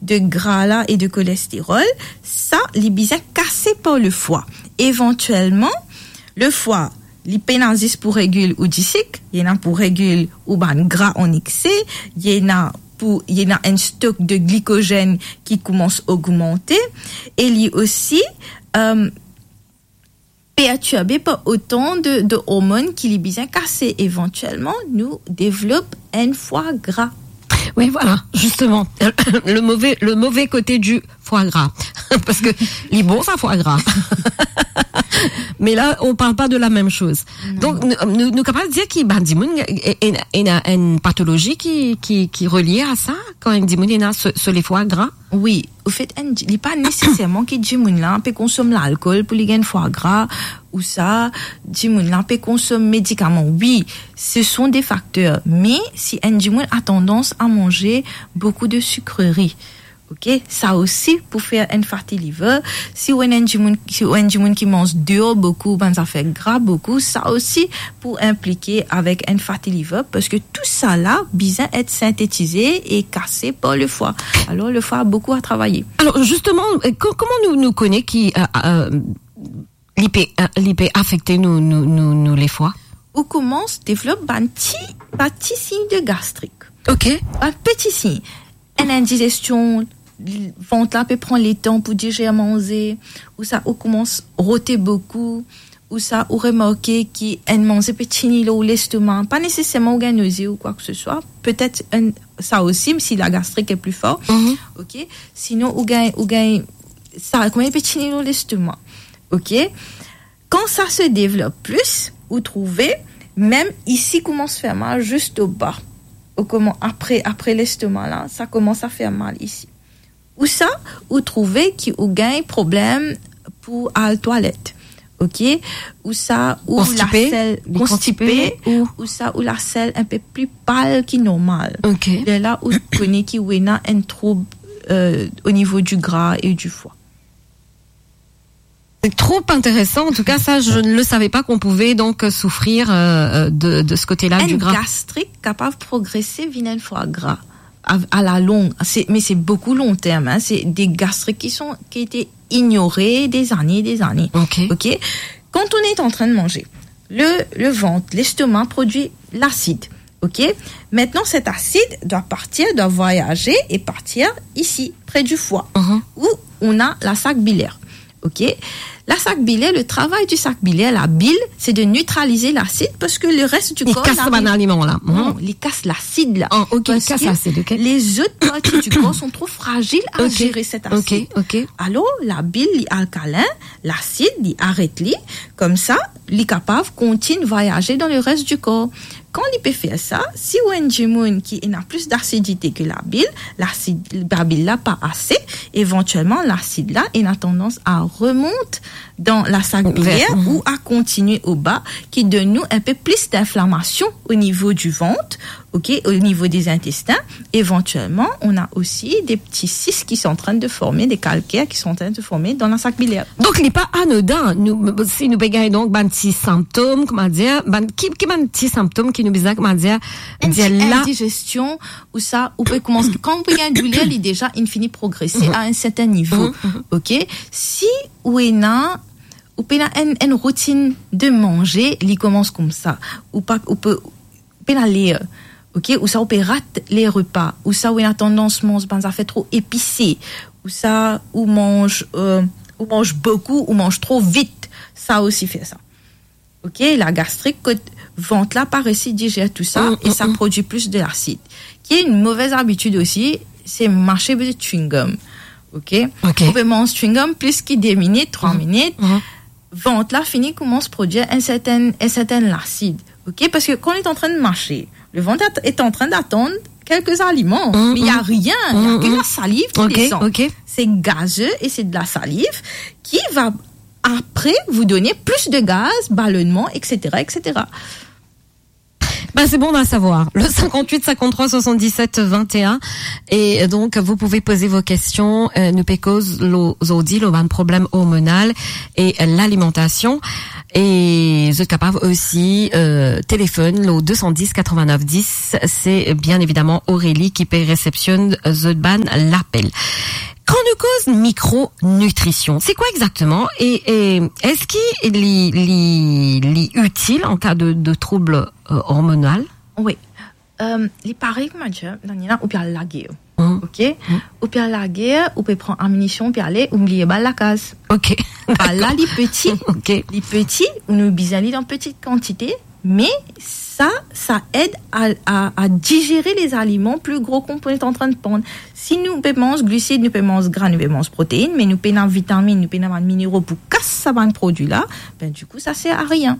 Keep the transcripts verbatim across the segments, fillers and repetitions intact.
de gra la e de kolesterol, sa, li bizin kase par lefwa. Evantielman, lefwa, li pena zis pou regil ou disik, li ena pou regil ou bann gra an ekse, li ena pou, li ena enn stok de glikozenn ki koumans ogmante, e li osi, euh, pertirbe par otan de, de ormonn ki li bizin kase. Evantielman, nou devlop enn fwa gra. Oui, voilà, justement. Le mauvais, le mauvais côté du foie gras. Parce que li bon, sa, foie gras. Mais là, on parle pas de la même chose. Non. Donc, nou, nou, nou kapav dir ki, ben, dimoun, e, e, ena enn patolozi ki, ki, ki relie a sa, kan enn dimoun ena so, so le foie gras? Wi, anfet, enn di-, li pa neseserman ki dimoun la pe konsom lalkol pou li gagn fwa gra, ou sa, dimoun la pe konsom medikaman. Wi, ce sont des facteurs. Me si enn dimoun a tandans a manze boukou de sikreri, ok, sa osi pou fer enn fatty liver. Si ou enn dimoun, si ou enn dimoun ki manz deor boukou, bann zafer gra boukou, sa osi pou inplike avek enn fatty liver, parski tou sa la bizin et sintetize e kase par lefwa. Alor, lefwa a boukou a travaye. Alors, justement, euh, co-, comment nous, nous connaît qui, euh, euh, li pe, euh, li pe afekte nou, nou, nou, nou lefwa? Ou koumans devlop bann ti, bann ti sign de gastrik. Ok. Bann peti sign. Enn indizestion, vant la pe pran letan pou dizer manze, ou sa ou koumans rote boukou, ou sa ou remarke ki enn manze pe tini lor lestoma, pa neseserman ou gagn noze ou kwa ke se swa, petet enn, sa osi, si la gastrik est plus fort, mhm, ok, sinon ou gagn, ou gagn, sa, kouma li pe tini lor lestoma, ok. Kan sa se devlop plis, ou trouve, mem isi koumans fer mal, zis oba. Ou koumans, apre, apre lestoma la, sa koumans a fer mal isi. Ou sa, ou trouve ki ou gagn problem pou al twalet. Ok? Ou sa, ou konstipe, lasel, li konstipe, konstipe, ou, ou sa, ou lasel inpe pli pal ki normal. Ok. Lerla, ou kone ki ou ena enn troub, euh, au niveau du gras et du foie. C'est trop intéressant. En tout cas, ça, je ne le savais pas qu'on pouvait donc, euh, souffrir, euh, euh, de, de ce côté-là du gras. Enn gastrik kapav progrese vinn enn fwa gra. A, a la long, se, me se boukou long term, hein. C'est des gastriques qui sont, qui étaient ignorés des années, des années. Ok. Ok? Quand on est en train de manger, le, le ventre, l'estomac produit l'acide. Ok? Maintenant, cet acide doit partir, doit voyager et partir ici, près du foie, mhm, où on a la sac biliaire. Ok? La sac biliaire, le travail du sac biliaire, la bile, c'est de neutraliser l'acide parce que le reste du corps n'arrive... Li kas bann aliman la. Non, mhm, li kas lasid la. Ah, ok, li kas lasid, ok. Parce que les autres parties du corps sont trop fragiles à gérer cet acide. Ok, ok. Alors, la bile, li alkalin, lasid, li aret li, koumsa, li kapav kontign vwayaze dan le res di kor. Kan li pe fer sa, si ou enn dimoun ki ena plis dasidite ke labil, lasid, labil la pa ase, evantielman lasid la ena tandans a remont dan la sag bilier, mhm, ou a kontigne oba, ki donn nou inpe plis dinflamasion o nivo di vant, ok, o nivo de zintestin. Evantielman, on a osi de pti sis ki sont en train de former, de kalker ki sont en train de former dan la sag bilier. Donk, li pa anodin, nou, si nou pe gagn, donk, bann ti sintom, kouma dir, bann, ki, ki bann ti sintom ki nou bizin, kouma dir, enn dir ti la? Indizestion, ou sa, ou pe koumans, kan ou pe gagn douler, li deza, inn fini progrese a enn sertin nivo. Mhm, mhm. Ok? Si ou ena, ou pena enn, enn routinn de manze, li koumans koumsa. Ou pa, ou pe, ou pena ler, ok? Ou sa ou pe rat le repa, ou sa ou ena tandans manz bann zafer tro epise, ou sa ou manz, euh, ou manz boukou, ou manz tro vit, sa osi fer sa. Ok? La gastrik, kot vant la pa resi dizer tou sa, mm, e sa, mm, prodwi plis de lasid. Ki enn move abitid osi, se mase bann chewing-gum. Ok? Ok. Ou pe manz chewing-gum plis ki de minit, trwa, mm, minit. Mm. Vant la fini koumans prodwir enn sertin, enn sertin lasid. Ok? Parski kan li est en train de mâcher, le ventre est en train d'attendre quelques aliments. Mm, mm. Mais il y a rien, il y a, mm, que, mm, la salive qui, ok, descend. Ok. C'est gazeux et c'est de la salive qui va après vous donner plus de gaz, ballonnement, et cetera, et cetera. Ben, c'est bon à savoir. Le cinquante-huit cinquante-trois soixante-dix-sept vingt et un. Et donc, vous pouvez poser vos questions. Euh, nou pe koz lo, zordi, lo bann problem hormonal e, euh, lalimantasion. E zot kapav osi, euh, telefone lo deux cent dix quatre-vingt-neuf dix. C'est bien évidemment Aurélie ki pe resepsionn zot bann lapel. Kan nou koz mikronutrision, c'est quoi exactement? E, e eski li, li, li itil an ka de, de trouble, euh, hormonal? Wi. Euh, li parey kouma dir, Daniela, ou pe al lager. Mhm. Ok? Mhm. Ou pe al lager, ou pe pran aminision, ou pe ale, ou bliye bal lakaz. Ok. Bal la, li peti. Ok. Li peti, ou nou bizin li dan peti kantite, me sa, sa ed a, a, a dizere lezaliman pli gro ki nou pe antrenn pran. Si nou pe manz glisid, nou pe manz gra, nou pe manz protein, me nou pena vitamin, nou pena bann minero pou kas sa bann prodwi la, ben, dikou, sa ser a rien.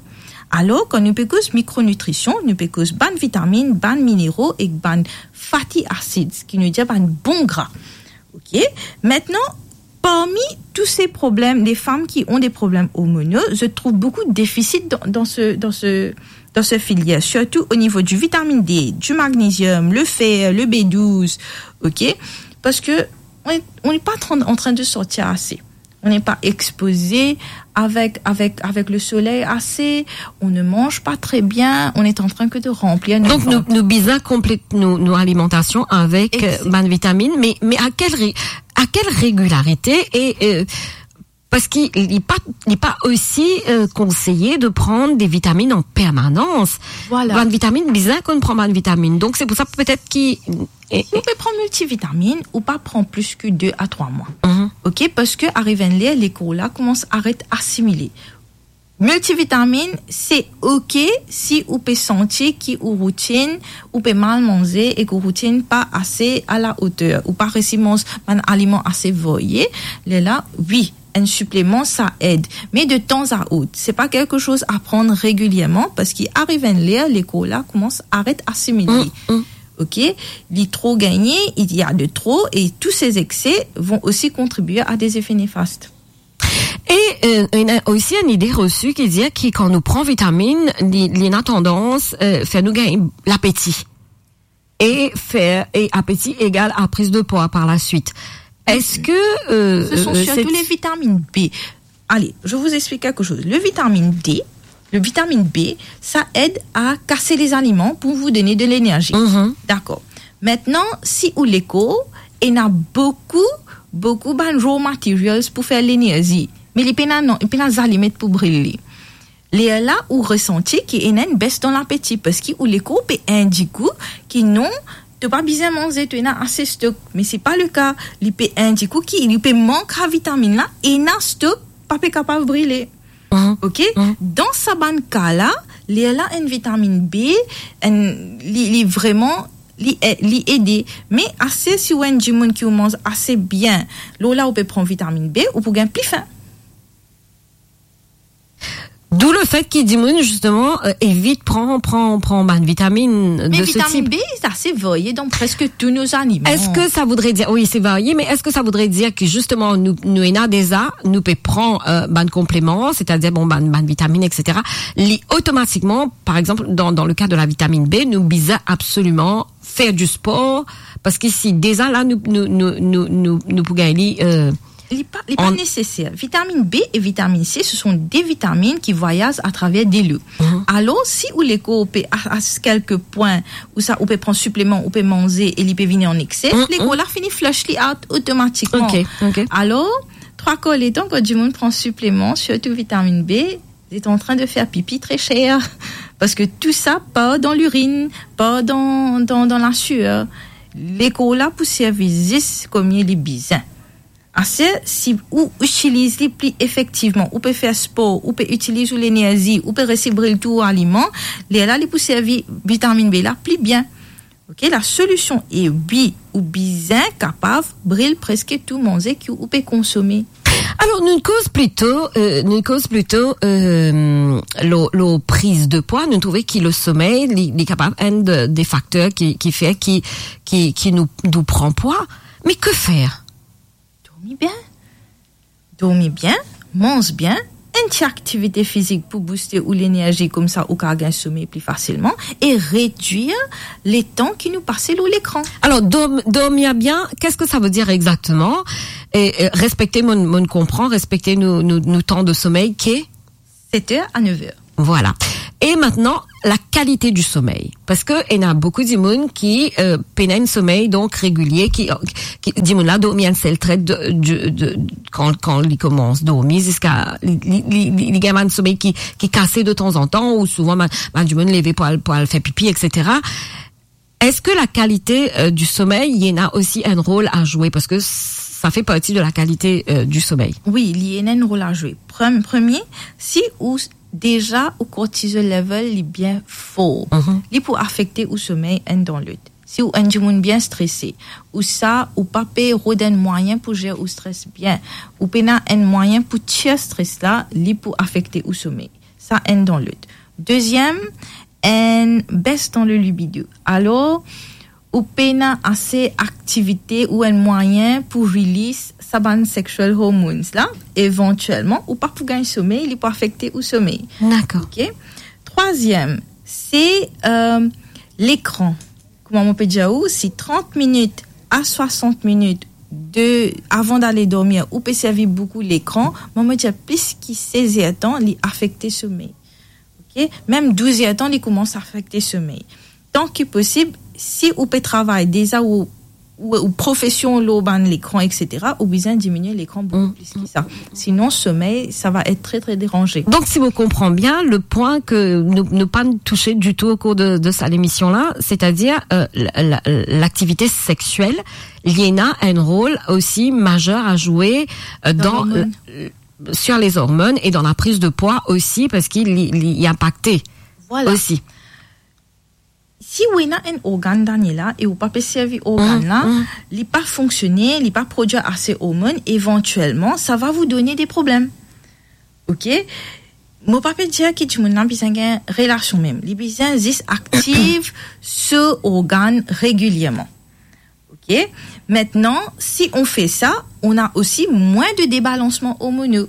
Alor, kan nou pe koz mikronutrision, nou pe koz bann vitamin, bann minero ek bann fatty acids, ki nou dir bann bon gra. Ok? Maintenant, parmi tous ces problèmes, les femmes qui ont des problèmes hormonaux, je trouve beaucoup de déficits dans, dans ce, dans ce, dans ce filière, surtout au niveau du vitamine D, du magnésium, le fer, le B douze, ok? Parce que on est, on n'est pas en train, en train de sortir assez. On n'est pas exposé avec, avec, avec le soleil assez, on ne mange pas très bien, on est en train que de remplir notre ventre. Donk nou, nou bizin konplet nou, nou alimantasion avek, euh, bann vitamin, me, me a kel re-, a kel regilarite e, euh, parski li pa, li pa osi, euh, konseye de pran de vitamin an permanans. Voilà. Bann vitamin, bizin konn pran bann vitamin. Donk, se pou sa, petet ki, e, si ou pe pran miltivitamin, ou pa pran plis ki de a trwa mwa. Mhm. Ok, parski ariv enn ler, lekor la koumans aret asimile. Miltivitamin, se ok si ou pe santi ki ou routinn, ou pe mal manze e ki ou routinn pa ase a la oter, ou pa resi manz bann aliman ase varie, lerla, wi, enn sipleman, sa ed. Me de tan a ot, se pa kelke soz a pran regilierman, parski ariv enn ler, lekor la koumans aret asimile. Mm, mm. Ok? Li tro gagne, il y a de trop, et tous ces excès vont aussi contribuer à des effets néfastes. E, euh, ena osi enn ide resi ki dir ki kan nou pran vitamin, li, li ena tandans, euh, fer nou gagn lapeti. E fer, e apeti egal a prise de poids par la suite. Est-ce que, euh, ce sont, euh, surtout cette les vitamines B. Allez, je vous explique quelque chose. Le vitamine D, le vitamine B, ça aide à casser les aliments pour vous donner de l'énergie. Mhm. D'accord. Maintenant, si ou lekor ena boukou, boukou bann raw materials pou fer lenerzi, me li pena non, li pena zalimet pou bril li, lerla ou resanti ki ena enn bes dan lapeti, parski ou lekor pe indik ou ki non, to pa bizin manze, to ena ase stok. Me se pa leka, li pe indik ou ki li pe mank sa vitamin la, ena stok, pa pe kapav brile. Mhm. Ok? Mhm. Dan sa bann ka la, lerla enn vitamin B, enn, li, li vreman, li e-, li ede. Me ase si ou enn dimoun ki ou manz ase bien, lor la ou pe pran vitamin B, ou pou gagn pli fin. D'où le fait ki dimoun, justement, euh, evit pran, pran, pran bann vitamin de ce type. Mais vitamine B, c'est assez varié dans presque tous nos aliments. Est-ce que ça voudrait dire, oui, c'est varié, mais est-ce que ça voudrait dire que, justement, nou, nou ena deza, nou pe pran, euh, bann konpleman, c'est-à-dire, bon, bann, bann vitamin, et cetera, li otomatikman, par exemple, dans, dans le cas de la vitamine B, nou bizin absoliman fer du sport, parski si deza la, nou, nou, nou, nou, nou, nou pou gagn li, euh, Li pa, li pa neseser. An- Vitamine B et vitamine C, ce sont des vitamines qui voyagent à travers de l'eau. Mhm. Alor, si ou lekor pe a, a quelque point, ou sa, ou pe pran sipleman, ou pe manze e li pe vini an excès, mhm, lekor la fini flush li out otomatikman. Ok, ok. Alor, trwa kar letan, kan dimoun pran sipleman, sirtou vitamine B, li est en train de faire pipi très cher. Parce que tout ça part dans l'urine, part dans, dans, dans la sueur. Lekor la pou servi zis kouma li bizin. Aster, si ou itiliz li pli efektivman, ou pe fer spor, ou pe itiliz ou lenerzi, ou pe resi bril tou ou aliman, lerla li pou servi vitamin B la pli bien. Ok, la solution est oui, ou bizin kapav bril preske tou manze ki ou pe konsome. Alor, nou koz plito, euh, nou koz plito, euh, lor, lor prise de poids. Nou trouve ki le sommeil, li, li kapav enn de, de facteurs ki, ki fer ki, ki, ki nou, nou pran pwa. Mais que faire? Dormi bien. Dormi bien, manz bien, enn ti aktivite fizik pou bouste ou lenerzi, koumsa ou kav gagn somey pli fasilman, e redwir letan ki nou pase lor lekran. Alors, dorm-, dormir bien, qu'est-ce que ça veut dire exactement ? Et, euh, respekte, mo, mo konpran, respekte nou, nou, nou tan de somey, ki? Sept heures à neuf heures. Voilà. Et maintenant, la qualité du sommeil. Parce que il y a beaucoup de monde qui, euh, pena enn somey, donc, régulier, qui, qui, dimoun la dormi enn sel tret de, de, de, kan, kan li koumans dormi ziska li, li, li, li, li gagn enn somey ki, ki kase de tanzantan, ou souvan, ben, ben, dimoun leve pou al, pou al fer pipi, et cetera. Est-ce que la qualité, euh, du sommeil, il y en a aussi un rôle à jouer ? Parce que ça fait partie de la qualité, euh, du sommeil. Wi, li ena enn rol a zwe. Prem-, premie, si ou s-, deza ou cortisol level li bien for, mhm, li pou afekte ou somey enn dan lot. Si ou enn dimoun bien strese, ou sa, ou pa pe rod enn mwayin pou zer ou stres bien, ou pena enn mwayin pou tir stres la, li pou afekte ou somey. Sa enn dan lot. Deziem, enn bes dan le libido. Alor, ou pena ase aktivite ou enn mwayin pou release sa bann sexual hormones la, evantielman, ou pa pou gagn somey, li pou afekte ou somey. Dakor. Ok? Trwaziem, se, euh, lekran. Kouma mo pe dir ou, si trant minit a swasant minit de, avan dale dormir, ou pe servi boukou lekran, mo, mo dir plis ki sez er tan, li afekte somey. Ok? Mem douz er tan, li koumans afekte somey. Tan ki posib, si ou pe travay deza ou, ou, ou profesion lor bann lekran, et cetera, ou bizin diminie lekran boukou, mm, plis ki sa. Sinon, somey, sa va et tre, tre deranze. Donc, si mo konpran bien, le point que nous, nous pas touché du tout au cours de, de sa, l'émission-là, c'est-à-dire, euh, la, la, l'activité sexuelle, li ena un rôle aussi majeur à jouer, euh, dans, euh, sur les hormones et dans la prise de poids aussi, parce qu'il li, li, li impacte, voilà, aussi. Si ou ena enn organ, Daniela, e ou pa pe servi organ la, li pa fonksione, li pa prodwir ase ormon, evantielman, sa va vous donner des problèmes. Ok? Mo pa pe dir ki dimoun la bizin gagn relasion mem. Li bizin zis aktiv so organ regilierman. Ok? Maintenant, si on fait ça, on a aussi moins de débalancement hormonaux.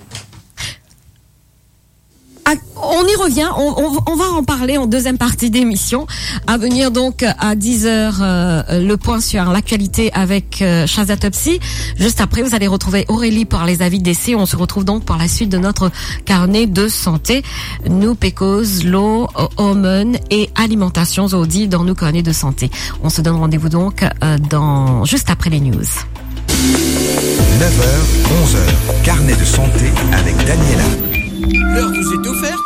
Ah, on y revient, on, on, on va en parler en deuxième partie d'émission. À venir donc à dix heures, euh, le point sur l'actualité avec, euh, Shazia Topsy. Juste après, vous allez retrouver Aurélie pour les avis d'essai. On se retrouve donc pour la suite de notre carnet de santé. Nou pe koz lor, euh, hormones et alimentation zordi dans nos carnets de santé. On se donne rendez-vous donc, euh, dans, juste après les news. Neuf heures, onze heures, carnet de santé avec Daniela. L'heure vous est offerte par